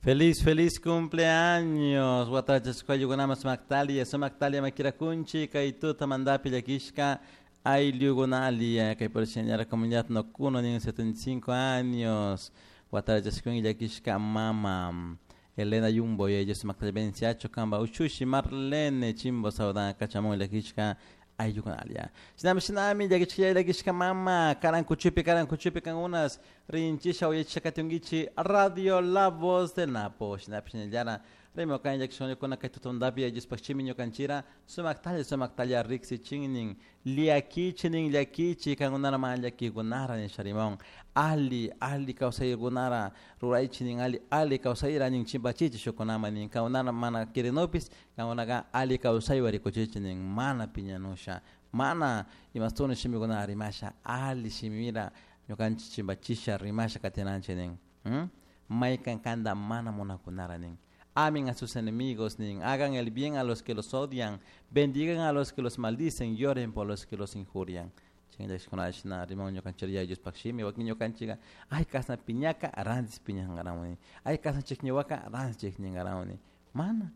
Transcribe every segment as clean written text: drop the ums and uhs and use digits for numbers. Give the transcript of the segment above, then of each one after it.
Feliz, feliz cumpleaños. Watachasqayukunaman sumaktalia, sumaktalia makirakunchi kay tutamantapi llakishka ayllukunalia kay por señora comunidad Nocuno nin 75 años. Watachasqun llakishka mama Elena Yumbo y ella sumaktalia venciacho kamba uchushi Marlene Chimbo saudan kachamun llakishka ayllukunalia. Shinami shinami llakishka llakishka mama karankuchupi karankuchupi kan unas rinchisha uyachakatungichi Radio La Voz del Napo. Shinapi shinallara rimo kan llakishkuna kay tutundapi ayllus-pakchimi ñukanchira sumaktalla sumaktalla riksichinin llakichinin llakichi kankunara mana llakikunara nisha rimon ali ali kawsaykunara ruraychinin ali ali kawsayra nin chimpachichi shukunaman nin kankunara mana kirinupis kankunaka ali kawsaywan rikuchichi nin mana piñanusha mana imastuni shimikunata rimasha ali shimira ñukanchik chimpachisha rimasha katinanchik nin maykan kanta mana munakunara nin. Amen a sus enemigos, nin. Hagan el bien a los que los odian, bendigan a los que los maldicen, lloren por los que los injurian. Shina rimon ñukanchik Diospaq shimi wakin ñukanchikka ay kasna piñaka rantis piñankarawani ay kasna chikñiwaka rantis chikñinkarawani mana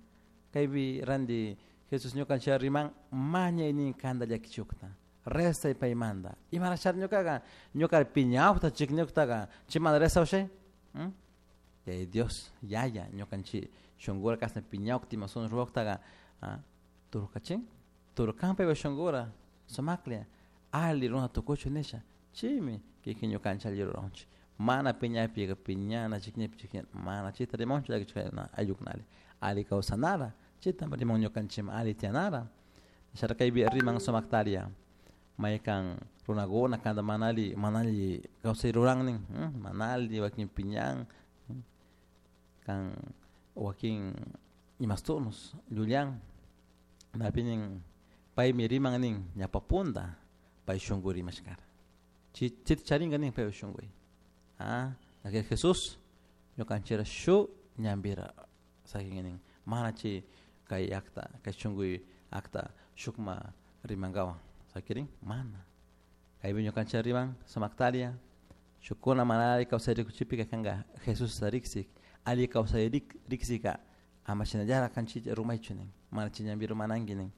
kaypi ranti Jesus ñukanchik riman mañay nin kanta llakichukta rezay paymanta imarashari ñukaka ñuka piñawta chikñuktaka chaymanta rezawshay. Yaya Dios yaya ñukanchik shunkura kasna piñawkta ima ruwaktaka turkachin turkan paypa shunkura sumaklla ali runa tukuchun nisha chaymi kikin ñukanchik alli ruranchik mana piñapika piñana chikñipi chikñana mana chayta rimanchu llakichikuna ayllukunalla ali kawsanara chayta riman ñukanchikman ali tiyanara shara kaypi riman sumaktaria maykan runakuna kanta mana alli mana alli kawsay rurannin mana alli wakin piñan kan wakin imastunus llullan napi nin paymi riman nin ñawpa punta pay shunku rimashkara chayta charinka nin paypa shunkuy Jesús ñukanchikra shuk ñanpira sakin nin mana chay kay acta kay shunkuy acta shukma rimankawan sakirin mana kaypi ñukanchik riman sumaktaria shukkuna mana alli kawsay rikuchipika kanka Jesusta riksik alli kawsay riksika ama shinallara kanchik rumaychu nin mana chay ñanpi rumananki nin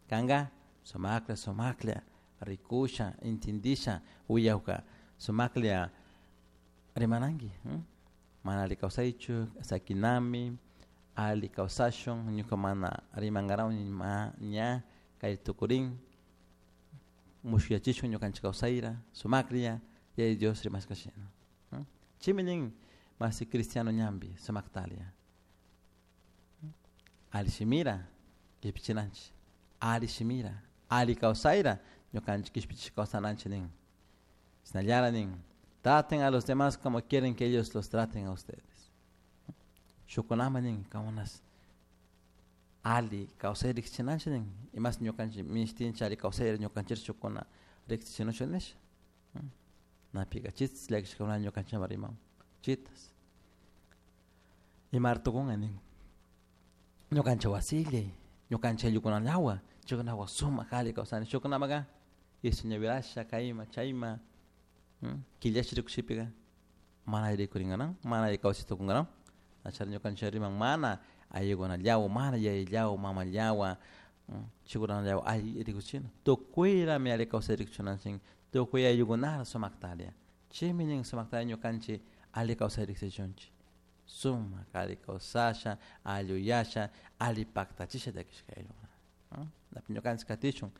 kanka sumaklla sumaklla rikusha intindisha willawka sumaklla rimananki mana alli kawsaychu sakinami alli kawsashun ñuka mana rimankarawni ma ña kay tukurin mushuyachishun ñukanchik kawsayra sumaklla Yaya Dios rimashka shina. Chaymi nin masi cristiano ñanpi sumaktalia alli shimira kishpichinanchik alli shimira alli kawsayra ñukanchik kishpichishka kawsananchik nin shinallara nin traten a los demás como quieren que ellos los traten a ustedes. Shukkunaman nin kankunas alli kawsay riksichinanchik nin imas ñukanchik minishtinchik alli kawsayra ñukanchik shukkuna riksichinuchun nisha napika chitas llakishkakuna ñukanchikman riman chitas imara tukunka nin ñukanchik wasillay ñukanchik ayllukunallawan chaykunawan sumak alli kawsani shukkunamaka ñavirasha kayma chayma killashi rikushipika mana alli rikurinkanan mana alli kawsay tukunkanan achara ñukanchik riman mana ayllukunallawan mana yayallawan mamallawan chaykunallawan alli rikuchina tukuyrami alli kawsay rikuchinanchik tukuy ayllukunata sumaktaria chaymi nin sumaktaria ñukanchik alli kawsay riksichunchik sumak alli kawsasha alli uyasha alli paktachisha llakishka ayllukuna ñukanchik katishun.